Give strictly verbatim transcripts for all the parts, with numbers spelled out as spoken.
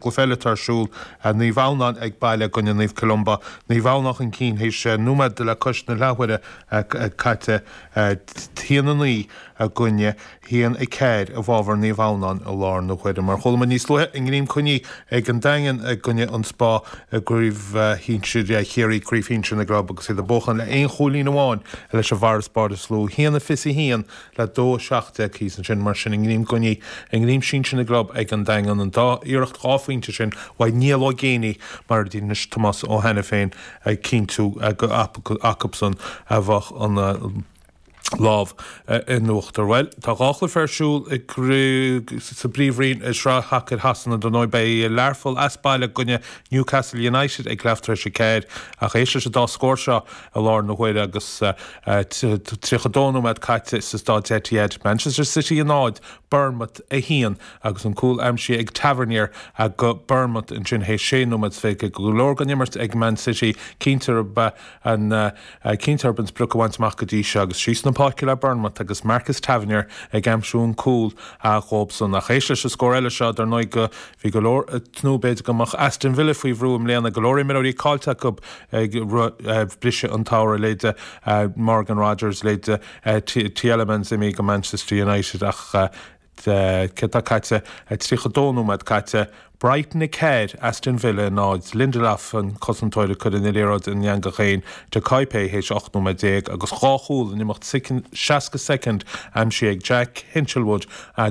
Cluiche eile atá ar siúl, Naomh Adhamhnáin ag baile i gcoinne Naomh Columba. Naomh Adhamhnáin chun cinn théis nóiméad le cois na leathuaire caite, a haon a naoi i gcoinne haon a ceathair i bhfabhar Naomh Adhamhnáin i láthair na huaire. Mar chuala muid níos luaithe, i nGreim Coinnigh ag an Daingean i gcoinne an Spá i gCraobh Shinsir Chiarraí, Craobh Shinsir na gClub agus iad ag buachan le aon chúilín amháin leis an bhfarasbarr is lú, a haon a fiche a haon le dó a seacht déag thíos ansin. Mar sin i nGreim Coinnigh i nGreim Sinsir na gClub ag an Daingean an dá iarracht dhá phointe sin uaidh Niall Ó Géibheannaigh mar a d'inis Tomás Ó hAiniféin ag cinntiú gur acusan a bheadh an lámh in uachtar. Bhuel, tá dhá chluiche ar siúl sa bPríomhroinn i Sraith Shacair Shasana dar ndóigh. Beidh Learpholl as baile i gcoinne Newcastle United ag leath tar éis a ceathair ach éist leis an dá scór seo i láthair na huaire agus tríocha dó nóiméad caite sa staid Etihad. Manchester City a náid, Bournemouth a haon agus an cúl aimsithe ag Tavernier go Bournemouth ansin théis sé nóiméad is fiche. Go leor den imirt ag Man City, cinnte arb an cinnte arb an sprioc a bhaint amach go dtí seo agus síos na páirce le Bournemouth agus Marcus Tavernier ag aimsiú an cúl dhóibhsan. Ach éist leis an scór eile seo, dar ndóigh go bhí go leor ag tnúth b'fhéidir go mbeadh Aston Villa faoi bhrú i mbliana, go leor imreoirí caillte acu ag briseadh an tsamhraidh, leithéide Morgan Rogers, leithéide Tielemans imithe go Manchester United ach céard atá caite, tríocha dó nóiméad caite, Brighton a ceathair, Aston Villa a náid. Lindelof, an cosantóir, ag cur an liathróid in eangach féin do Kaipe théis ocht nóiméad déag agus dhá chúl in imeacht seasca soicind aimsithe ag Jack Hinshelwood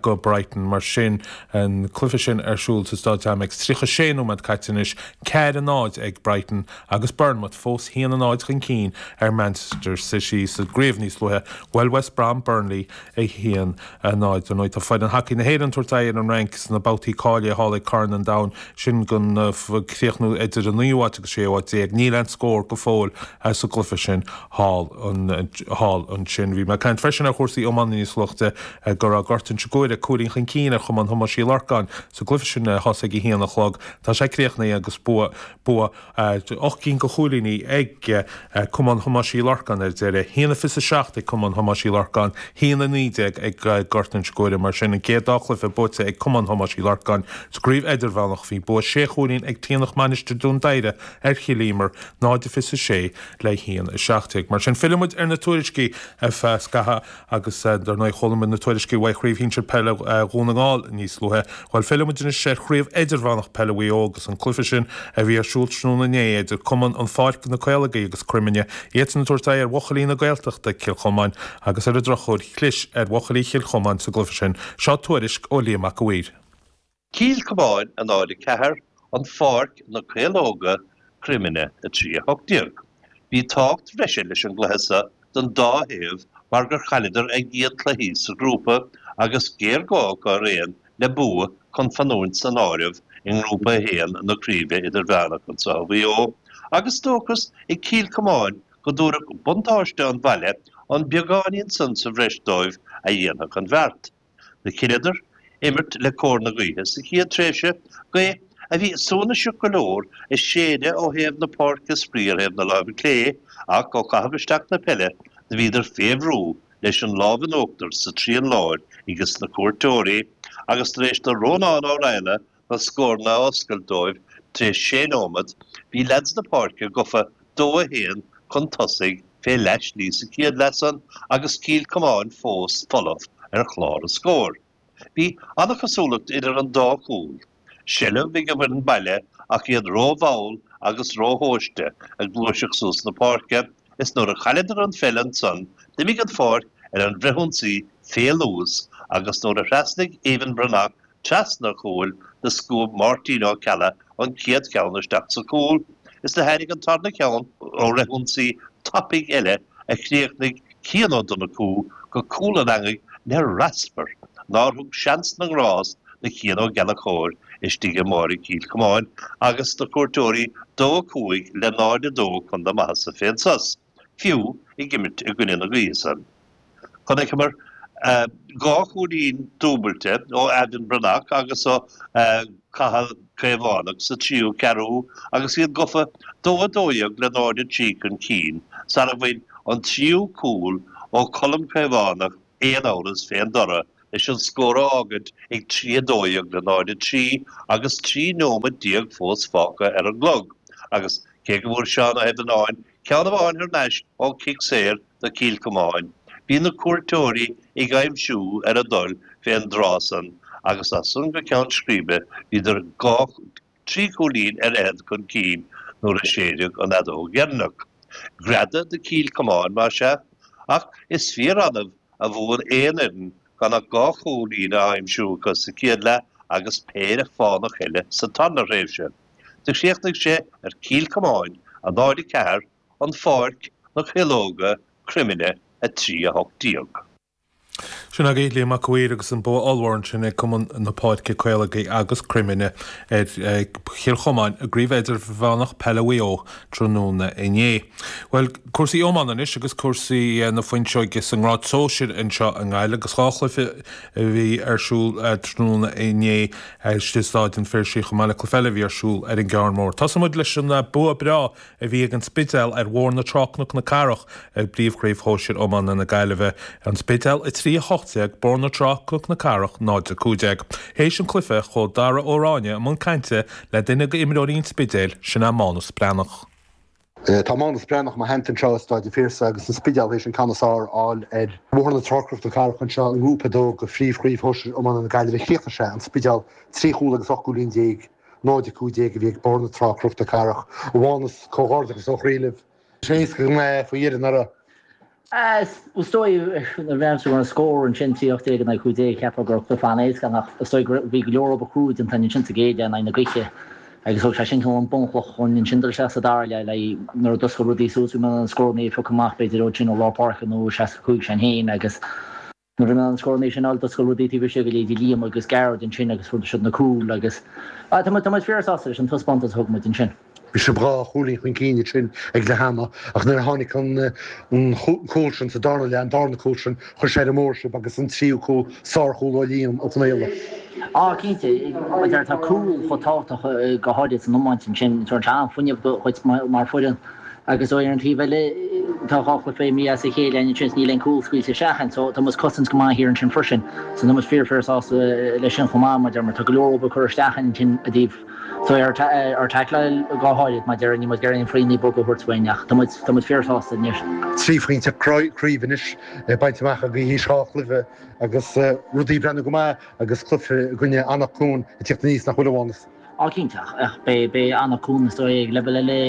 go Brighton. Mar sin, an cluiche sin ar siúl sa Staid Amex. tríocha sé nóiméad caite anois, ceathair a náid ag Brighton agus Bournemouth fós haon a náid chun cinn ar Manchester City. Sa gcraobh níos luaithe, bhuail West Brom Burnley a haon a náid. Dar ndóigh, tá foireann hacaí na hÉireann ag tabhairt aghaidh ar an Fhrainc sna babhtaí cáilithe thall ag Corn an Domhain, sin chun críochnú idir an naoú háit agus séú háit déag. Níl aon scór go fóill sa gcluiche sin thall ansin. Bhí mé ag caint freisin ar chúrsaí iomána níos luaithe go raibh Gort Inse Guaire cúilín chun cinn ar Chumann Thomáis Uí Lorcáin sa gcluiche sin a thosaigh ag a haon a chlog. Tá sé críochnaithe agus bua bua ocht gcinn de chúilíní ag Cumann Thomáis Uí Lorcáin ar deireadh. A haon a fiche a seacht ag Cumann Thomáis Uí Lorcáin, a haon a naoi déag ag Gort Inse Guaire. Mar sin, an chéad dá chluiche buaite ag Cumann Thomáis Uí Lorcáin sa gcraobh Idirmheánach. Bhí bua sé chúilín ag Taonach Mainistir Dún Doighre ar Chill Íomair, náid a fiche a sé le haon a seacht déag. Mar sin, fillfidh muid ar na tuairiscí ar feadh scathaimh agus dar ndóigh chuala muid na tuairiscí uaidh Chraobh Shinsir Peile Dhún na nGall níos luaithe. Bhuel, fillfidh muid anois ar Chraobh Idirmheánach Peile Mhaigh Eo agus an cluiche sin a bhí ar siúl tráthnóna inné idir Cumann an Pháirc na Caológaí agus Croimine, iadsan ag tabhairt aghaidh ar bhuachaillí na Gaeltachta, Cill Chomáin, agus ar an drochuair chlis ar bhuachaillí Chill Chomáin sa gcluiche sin. Seo tuairisc ó Liam Mac a' Mhaoir. Cill Chomáin a náid a ceathair, An Pháirc na Caológa, Croimine a trí a hocht déag. Bhí tábhacht bhreise leis an gcluiche seo don dá thaobh mar gur chailleadar a gcéad cluichí sa ghrúpa agus géarghá acu araon le bua chun fanúint san áireamh i nGrúpa a haon na Craoibhe Idirmheánach anseo i Mhaigh Eo agus dóchas ag Cill Chomáin go dtabharfadh buntáiste an bhaile an beagáinín san sa bhreis dóibh a dhéanfadh an bheart. Do chinneadar imirt le cóir na gaoithe sa chéad tréimhse, gaoth a bhí suaithinseach go leor ag séideadh ó thaobh na páirce spraoi ar thaobh na láimhe clé ach ó chaitheamh isteach na peile do bhíodar fé bhrú leis an lámh in uachtar sa trian láir ages na cuairteoirí agus tar éis do Rónán Ó Raghallaigh na scóranna a oscailt dóibh tar éis sé nóiméad bhí leaids na páirce gofa dó a haon chun tosaigh fé leathshlí sa chéad leath san agus Cill Chomáin fós folamh ar chlár an scóir. Bhí an-chosúlacht idir an dá chúl, seilbh ag an bhfoireann baile ach iad rómhall agus róthomhaiste ag gluaiseacht suas na páirce is nuair a chailleadar an pheil ansan d'imigh an Pháirc ar an bhfrithionsaí fé luas agus nuair a thrasnaigh Evan Breathnach trasna a chúil do scuab Máirtín Ó Ceallaigh an chéad cheann isteach sa chúl is do tháinig an tarna ceann ó fhrithionsaí tapaidh eile a chríochnaigh Cian Ó Donnchú go cúl an eangaigh le raspar nár thug seans na ngrást do Chian Ó Gallchóir istigh i mbáire Chill Chomáin agus na cuairteoirí dó a cúig le náid a dó chun na maitheasa fén sos, fiú ag imirt i gcoinne na gaoithe san. Chonaiceamar dhá chúilín dúbailte ó Evan Breathnach agus ó Cathal Caomhánach sa tríú ceathrú agus iad gofa dó a dó dhéag le náid a trí chun cinn sara bhain an tríú cúl ó Cholm Caomhánach aon amhras fén dtoradh leis an scór a fhágaint ag trí a dó dhéag le náid a trí agus trí nóiméad déag fós fágtha ar an gclog agus cé go bhfuair Seán Ó hIfearnáin ceann amháin thar n-ais ó chic saor do Chill Chomáin, bhí na cuairteoirí ag aimsiú ar a dtoil fén dtráth san agus as san go ceann scríbe bhíodar dhá trí chúilín ar fhichead chun cinn nuair a séideadh an fheadóg dheireanach. Greadadh do Chill Chomáin más ea, ach is fíor-annamh a bhuann aon fhoireann gan ach dhá chúilín a aimsiú acu sa chéad leath agus péire fánach eile sa tarna thréimhse. Do chríochnaigh sé ar Chill Chomáin, a náid a ceathair, An Pháirc, Na Caológa, Croimine, a trí a hocht déag. Sin agaibh Liam Mac a' Mhaoir agus an bua ollmhór ansin ag Cumann na Páirce Caológaí agus Croimine ar Chill Chomáin i gCraobh Idirmheánach Peile Mhaigh Eo tráthnóna inné. Bhuel, cúrsaí iomána anois agus cúrsaí na fuinseoige sa ngrád sóisir anseo i nGaillimh agus dhá chluiche a bhí ar siúl tráthnóna inné istigh i Stáid an Phiarsaigh chomh maith le cluiche eile a bhí ar siúl ar an gCearn Mór. Tosóidh muid leis an bua breá a bhí ag an Spidéal ar Bhóthar na Trá Cnoc na Cathrach i bPríomhchraobh Shóisir Iomána na Gaillimhe. An Spidéal a trí a hocht déag, Bóthar na Trá Cnoc na Cathrach náid a cúig déag. Théis an chluiche chuaigh Dara Ó Ráinne i mbun cainte le duine d'imreoirí an Spidéil, sin é Mánas Breathnach. Tá Mánas Breathnach i mo theannta anseo i Stáid an Phiarsaigh agus an Spidéal théis an ceann is fearr a fháil ar Bhóthar na Trá Cnoc na Cathrach anseo i nGrúpa a dó de Phríomhchraobh Shóisir Iomána na Gaillimhe. Chríochnaigh sé an Spidéal trí chúl agus ocht gcúilín déag, náid a cúig déag a bhí ag Bóthar na Trá Cnoc na Cathrach. A Mhánais, comhghairdeachas ó chroí libh. Sé éasca go maith faoi dheireadh, nach raibh? Is dóigh nuair a bhreathnaigh tú ar an scór ansin, trí ocht déag in aghaidh cúig déag, cheapfá go raibh cluiche an-éasca ann ach is dóigh go bhí go leor obair chrua déanta againn ansin sa gcéad leath in aghaidh na gaoithe agus thóg sé sin cineál an bunchloch chun ansin dul isteach sa dara leath le nuair a d'oscail rudaí suas bhí muid in ann scóranna a phiocadh amach b'fhéidir ansin ó lár páirce nó seasca cúig againn féin agus nuair a bhí muid in ann scóranna sin a fháil d'oscail rudaí taobh istigh go leithéidí Liam agus Gearóid ansin agus fuair siad na cúil agus tá muid tá muid fíor-sásta leis an taispeántas a thug muid ansin. Bhí sibh dhá chúilín chun cinn ansin ag leath ama ach nuair a tháinig an cúl sin sa darna leath, an darna cúl sin, chuir sé ar an mbóthar sibh agus an tríú cúl, sárchúl ó Liam Ó Conaola. Á, cinnte, mar a deir, tá cúl chomh tábhachtach go háirid san iomáint ansin, tugann sé an-fhuinneamh dhuit mar foireann agus ar an taobh eile tá dhá chluiche imithe as a chéile againn ansin is níl aon cúl scaoilte isteach againn so tá muid ag cosaint go maith thiar ansin freisin so tá muid fíor fíor sásta leis sin chomh maith mar a deir mar tá go leor obair curtha isteach againn ansin i dtaobh So ar ár dtaicleáil go háirid mar a deir, níl muid ag iarraidh aon foighne bog a thabhairt uainn ach tá muid, tá muid fíorshásta anois. Trí phointe craoibhe anois bainte amach agaibh théis dhá chluiche agus rudaí ag breathnú go maith agus cluiche i gcoinne Anach Cuain ag tíocht aníos nach bhfuil a Mhánais? Á cinnte ach beidh, beidh Anach Cuain is dóigh ag leibhéal eile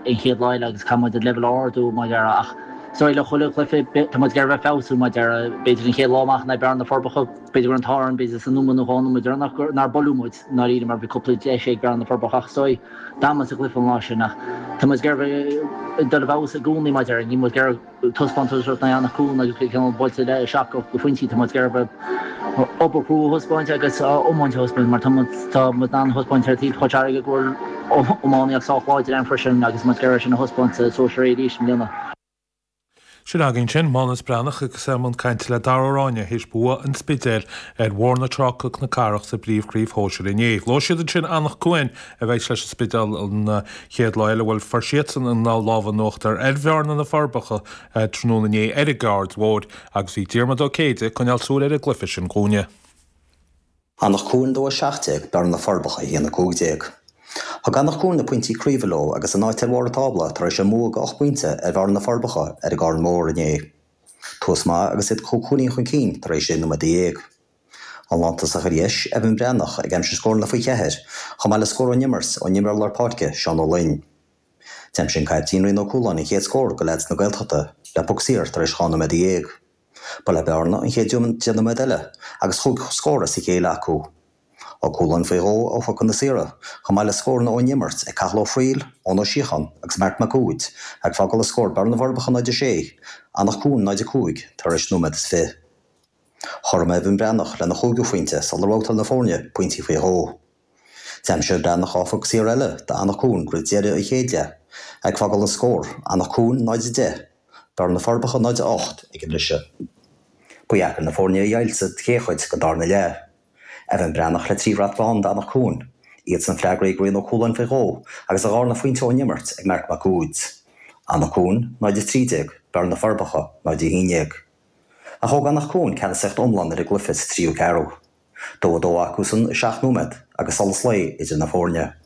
an chéad lá eile agus caithfidh muid an leibhéal a ardú mar a deir ach is dóigh le chuile chluiche tá muid ag iarraidh bheith ag feabhsú mar a deir b'fhéidir an chéad lá amach in aghaidh Bearna na Forbacha B'fhéidir go raibh an t-ádh orainn, b'fhéidir sa nóiméad nó dhá nóiméad deireanach gur nár buaileadh muid i ndáiríre mar bhí cúpla deis ag Bearna na Forbacha ach is dóigh d'fhan muid sa gcluiche an lá sin ach tá muid ag iarraidh bheith dul i bhfeabhas i gcónaí mar a deir, níl muid ag iarraidh taispeántas a thabhairt in aghaidh Anach Cuain agus bheith cineál buailte le seacht ocht de phointí, tá muid ag iarraidh bheith obair chrua a thaispeáint agus iomáint a thaispeáint mar tá muid tá muid in ann a thaispeáint ar taobh Chois Fharraige go bhfuil iománaíocht sách láidir ann freisin agus muid ag iarraidh sin a thaispeáint sa Sóisear A arís i mbliana. Sin againn sin, Mánas Breathnach agus é i mbun cainte le Dara Ó Ráinne théis bua an Spidéil ar Bhóthar na Trá Cnoc na Cathrach sa bPríomhchraobh Shóisir inné. Luaigh siad ansin Anach Cuain a bheidh leis an Spidéal an chéad lá eile. Bhuel, fuair siadsan an lámh in uachtar ar Bhearna na Forbacha tráthnóna inné ar an gCaird Mhóir agus bhí Diarmuid Ó Céide ag coinneáil súil ar an gcluiche sin dhúinne. Anach Cuain dó a seacht déag, Bearna na Forbacha a haon a cúig déag. Thug Anach Cuain na pointí craoibhe leo agus a n-áit ar bharr an tábla tar éis a mbua de ocht bpointe ar Bhearna na Forbacha ar an gCarn Mór inné. Tús maith agus iad cúig chúilín chun cinn tar éis sé nóiméad déag. An lántosach ar dheis, Evan Breathnach, ag aimsiú scóranna faoi cheathair, chomh maith le scór ón imirt ón imreoir lár páirce, Seán Ó Loinn. D'aimsigh an caiptín Rian Ó Cualáin an chéad scór do leaids na Gaeltachta le poc saor tar éis dhá nóiméad déag. Ba le Bearna an chéad deich nóiméad eile agus chúig scór as a chéile acu. Ó Cualáin faoi dhó ó phocanna saora, chomh maith le scóranna ón imirt ag Cathal Ó Fríl, Eoin Ó Síocháin agus Marc Mac Uaid, ag fágáil an scór Bearna na bhForbacha náid a sé, Anach Cuain náid a cúig tar éis nóiméad is fiche. Chothromaigh Evan Breathnach lena chúigiú phointe sula mbabhtáil na foirne pointí faoi dhó. D'aimsigh Breathnach dhá phoc saor eile d'Anach Cuain roimh deireadh an chéad leath, ag fágáil an scór, Anach Cuain náid a deich, Bearna na Forbacha náid a ocht ag an mbriseadh. Ba dheacair na foirne a dheighilt sa chéad chuid den darna leath. Evan Breathnach le trí bhrat bán d'Anach Cuain, iadsan freagraithe ag Rian Ó Cualáin faoi dhó agus a dharna phointe ón imirt ag Marc Mac Uaid. Anach Cuain, náid a trí déag, Bearna na Forbacha, náid a haon déag. Ach thóg Anach Cuain ceannasaíocht iomlán ar an gcluiche sa tríú ceathrú. Dó a dó acusan i seacht nóiméad agus solas lae idir na foirne.